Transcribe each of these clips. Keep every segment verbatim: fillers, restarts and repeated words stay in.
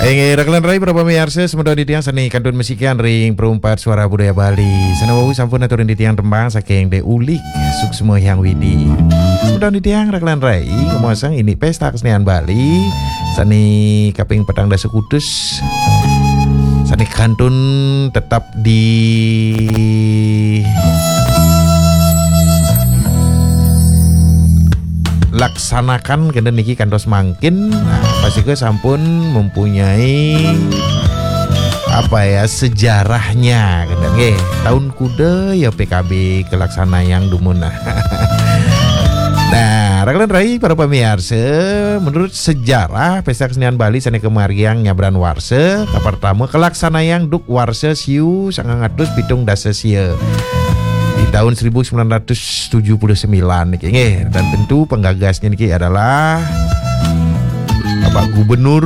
Inggih, raka lan rai para pamiarsa, semeton titiang sane kantun masikian ring Perumpat Suara Budaya Bali. Sane wau sampun aturin titiang tembang saking De Ulik, Suksma Hyang Widi. Semeton titiang raka lan rai, ngemaosang indik Pesta Kesenian Bali, sane kaping petang dasa kutus, sane kantun tetap dilaksanakan kenten niki kantos mangkin. Nah, pastika sampun mempunyai, apa ya, sejarahnya, kenten nggih. Taun kuda ya P K B kalaksanayang dumun. Nah, raka lan rai para pamiarsa, menurut sejarah Pesta Kesenian Bali sane kamargiang nyabran warsa, kapertama kalaksanayang duk warsa siu sangang atus pitung dasa sia di taun seribu sembilan ratus tujuh puluh sembilan niki nggih, dan tentu penggagasnya niki adalah Bapak Gubernur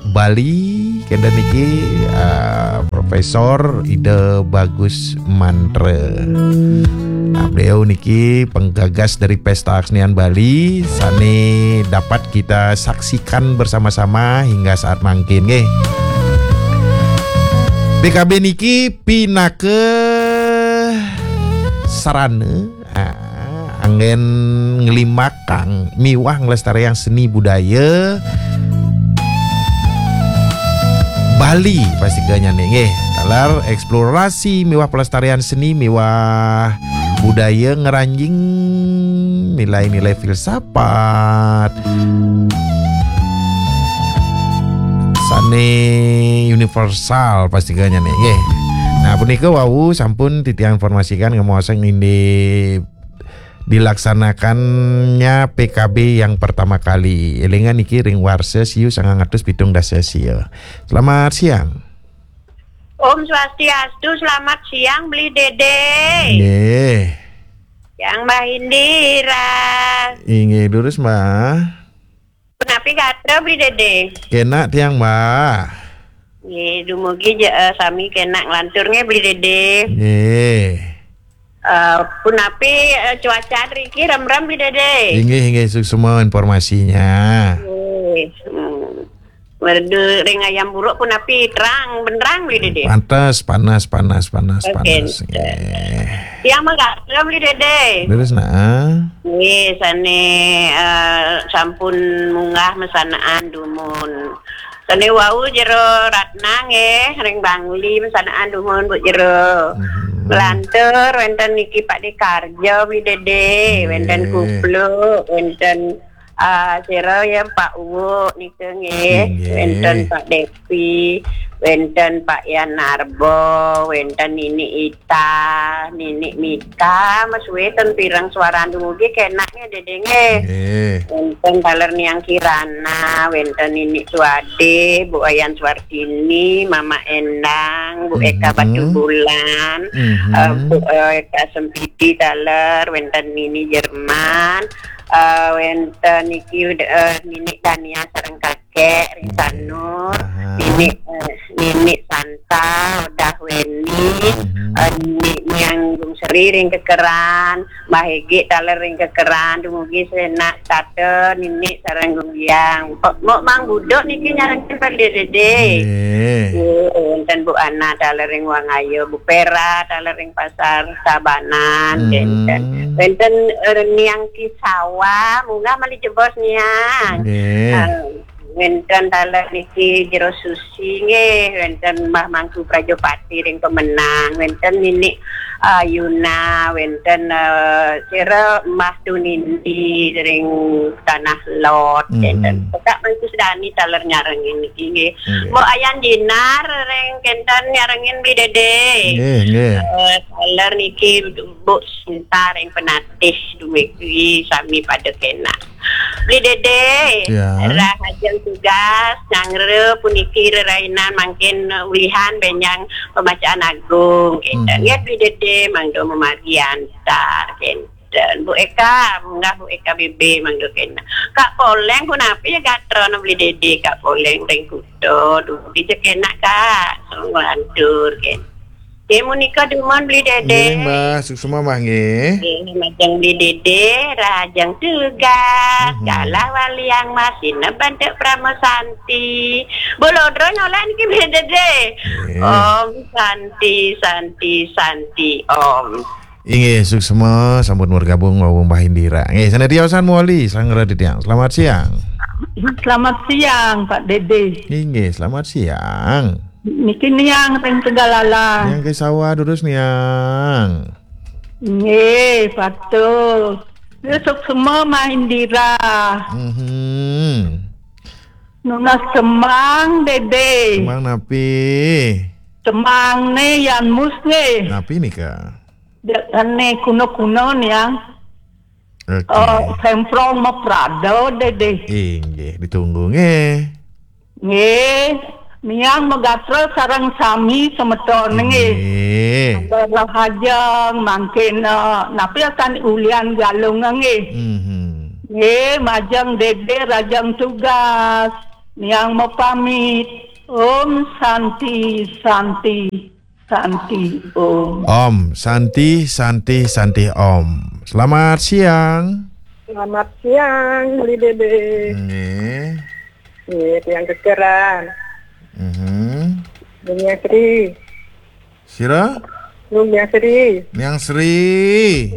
Bali kenten niki, eh, Profesor Ida Bagus Mantra. Nah, beliau niki penggagas dari Pesta Kesenian Bali sane dapat kita saksikan bersama-sama hingga saat mangkin nggih. P K B niki pinaka sarana, ah, anggen nglimbakang miwah nglestariang seni budaya Bali, pastika nyane nggih. Taler eksplorasi miwah pelestarian seni miwah budaya, ngranjing nilai-nilai filsafat sane universal, pastika nyane nggih. Nah, punika wau sampun titiang informasikan ngemaosang indik dilaksanakannya P K B yang pertama kali. Elingan niki ring warsa siu sangang atus pitung dasa sia. Selamat siang. Om Swastiastu, selamat siang, Beli Dede. Nggih. Yang Mbah Indira. Inggih, durus, Mbah. Punapi gatra, Beli Dede? Kenak tiang, Mbah. Nggih, dumugi je, eh, sami kenak nglantur nggih, Beli Dede. Nggih. Eh, punapi, eh, cuaca riki remrem, Beli Dede? Inggih, inggih, suksma informasinya. Nggih. Hmm. Merdu ring Ayam Buruk punapi terang benderang, Beli Dede? Pantes, panas, panas, panas, oke, panas. Nggih. Tiang mah gatra, Beli Dede. Leres nah. Nggih, sane, eh, sampun munggah masanaan dumun. Sane wau Jero Ratna nggih, ring Bangli masanaan dumun, Bu Jero. Mhm. Nglantur wenten niki Pak Dekarja, Beli Dede, wenten, nggih, Kupluk, wenten, ah, sira ya Pak Uwuk nika nggih, nggih, wenten Pak Depi, wenten Pak Yan Narbo, wenten Nini Ita, Nini Mita, mas weten pirang suaran dumugi kenak nggih, Dede nggih. Nggih. Wenten taler Niang Kirana, wenten Nini Suade, Bu Ayan Suartini, Mama Endang, Bu Eka, mhm, Batubulan, mhm, eh, Bu Eka Sempidi taler, wenten Nini Jerman, eh, wenten niki, eh, Nini Dania sareng Kakek, nggih, Risanur, aha, Nini, eh, Nini Santa, Udah Weni, mhm, eh, Nini Niang Gung Seri ring Kekeran, Mbah Egi taler ring Kekeran, dumugi senak tata Nini sareng Gung Biang. Mok, mok Mang Buduk niki nyarengin Pak Dede. Nggih. Nggih, wenten Bu Ana taler ring Wangaya, Bu Pera taler ring Pasar Tabanan, mhm, wenten. Wenten, eh, Niang Kisawa, munggah malih jebos Niang. Nggih. Eh, wenten taler niki Jero Susi nggih, wenten Mbah Mangku Prajapati ring Pemenang, wenten Nini, eh, Yuna, wenten, eh, sira Mbah Tunindi ring Tanah Lot, mhm, wenten. Pekak Mangku Sedani taler nyarengin niki nggih. Nggih. Mbok Ayan Jinar ring kenten nyarengin Beli Dede. Nggih, nggih. Eh, taler niki Mbok Sinta ring Penatih, dumugi sami pada kenak. Beli Dede, ya, rahajeng tugas, nyanggra puniki rerainan mangkin ulihan benjang pembacaan agung, kenten. Mhm. Ya, Beli Dede, mangda mamargi antar, kenten. Bu Eka, munggah Bu Eka B B, mangda kenak. Kak Poleng, punapi ya gatra Beli Dede, Kak Poleng ring Kuta, dumugi kenak, Kak. Nglantur, kenten. Nggih, menika dumun Beli Dede. Nggih, Mbah, suksma Mbah nggih. Nggih, majeng Beli Dede, rahajeng tugas. Mhm. Galah waliang masih nebantuk Prama Santi. Bolodro nyolek niki Beli Dede. Nggih. Om Santi, Santi, Santi, Om. Inggih, suksma sampun bergabung wau Mbah Indira. Nggih, sanadyan mawali sanggra titiang. Selamat siang. Selamat siang, Pak Dede. Inggih, selamat siang. Niki Niang ring Tegalala. Niang ke sawah durus Niang. Nggih, betul. Ya, suksma Mbah Indira. Mhm. Nunas semang, Dede. Semang napi? Semang ne yan mus nggih. Napi nika? Dekne kuno-kuno Niang. Oke. Eh, semprong maprada, Dede. Inggih, ditunggu nggih. Nggih, Niang magatra sareng sami semeton nggih. Nggih. Rahajeng mangkin, eh, napi akan ulian Galung nggih. Mhm. Nggih, majeng Dede rahajeng tugas. Niang mapamit. Om Santi, Santi. Santi Om. Om, Santi, Santi, Santi Om. Selamat siang. Selamat siang, Beli Dede. Nggih. Nggih, tiang kekeran. Mhm. Dunia Sri. Sira? Dunia Sri. Niang Sri.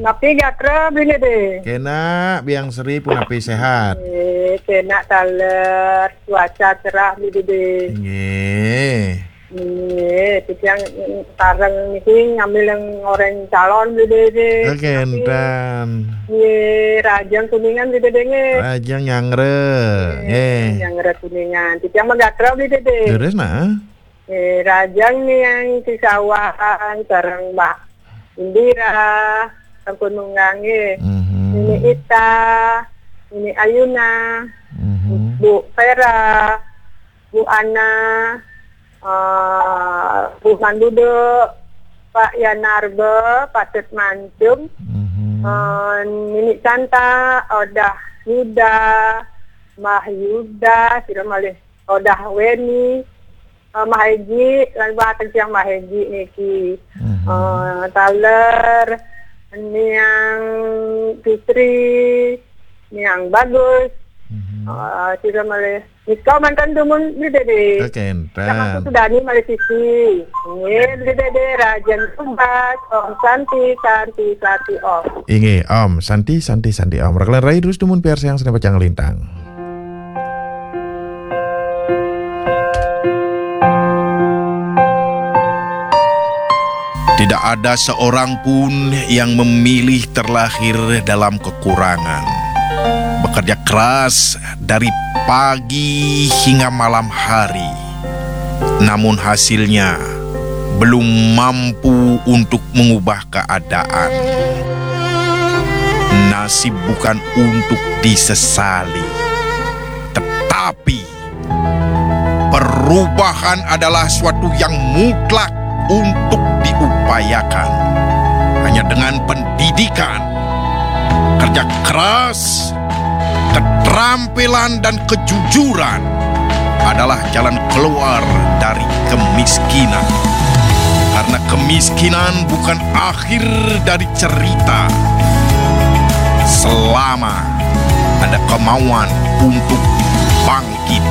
Napi gatra, Beli Dede? Kena, Biang Sri punapi sehat? Nggih, kena taler, cuaca cerah, Beli Dede. Nggih. Nggih, titiang, mm, sareng niki ngambil yang orang calon Beli Dede. Oke, tapi enten. Nggih, rahajeng Kuningan Beli Dede nggih. Rahajeng nyanggra. Nggih, nggih. Nyanggra Kuningan. Titiang magatra Beli Dede. Terus nah. Nggih, rahajeng Niang Kisawang sareng Mbah Indira, sampun munggah nggih. Mhm. Nini Ita, Nini Ayuna, mhm. Bu Vera, Bu Ana, eh, Bu Mandudo, Pak Yanarba, Patut Mancung, mhm. Eh, Nini Santa, Odah Yuda, Mbah Yuda, sira malih Odah Weni, eh, Mbah Haji, lan Mbah Tengsiang Mbah Haji niki. Mhm. Eh, taler, Niang Fitri, Niang Bagus, mhm. Eh, sira malih Nika mantan dumun Beli Dede. Oke, enten. Sama Sudani malih sisi. Nggih, Beli Dede, rahajeng tugas. Om Santi, Santi, Santi, Om. Inggih, Om Santi, Santi, Santi, Om. Raka lan rai terus dumun piarsayang seni pacang lintang. Tidak ada seorang pun yang memilih terlahir dalam kekurangan. Bekerja keras dari pagi hingga malam hari, namun hasilnya belum mampu untuk mengubah keadaan. Nasib bukan untuk disesali, tetapi perubahan adalah suatu yang mutlak untuk diupayakan. Hanya dengan pendidikan, kerja keras, keterampilan, dan kejujuran adalah jalan keluar dari kemiskinan. Karena kemiskinan bukan akhir dari cerita selama ada kemauan untuk bangkit.